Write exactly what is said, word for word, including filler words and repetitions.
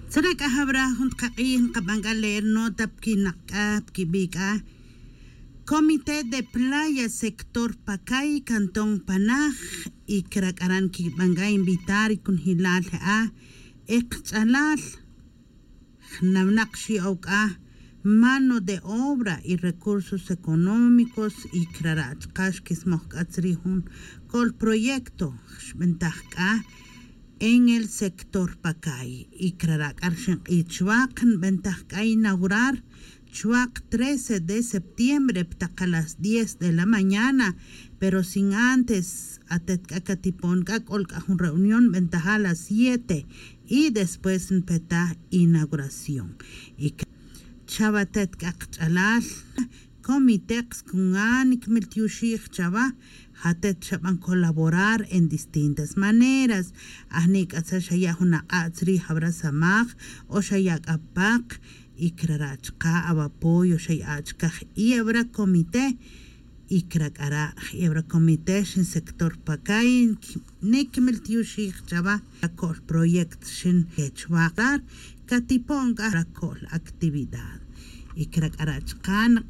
Tzara' c'a jawra jun tqak'ij nqaban c'a leer nota pquinak' c'a pquibi' c'a comité de playa sector pacay cantón panaj. Y cra c'a ran quiban c'a invitar y cunjilal je'a e kach'alal jnawnak xi'ow c'a mano de obra y recursos económicos. Y crara' chka' xquismoj c'a tzri' jun col proyecto xbentaj c'a en el sector pacay. Y crara' c'a rxin k'ij chwaq nbentaj c'a inaugurar chwaq trece de septiembre ptaka las diez de la mañana. Pero sin antes atet c'a catipon c'a c'ol c'a jun reunión nbentaja las siete y después npetaj inauguración. Y chawa atet c'a kach'alal comité kskuna nikmil tioxij chawa. Jatet xaban colaborar en distintas maneras. Ajni' c'a tzal xaya' jun ak'a' tzri' jawra samaj o xaya' c'a paq. Y crara' chka' awapoyo xaya' chkaj y awra comité. Y cra c'a ra' y awra comité xin sector pacay nikmil tioxij chawa. Ra co'l proyecto xin quechwaq rar catipon c'a ra co'l actividad. Y cra c'a ra' chka'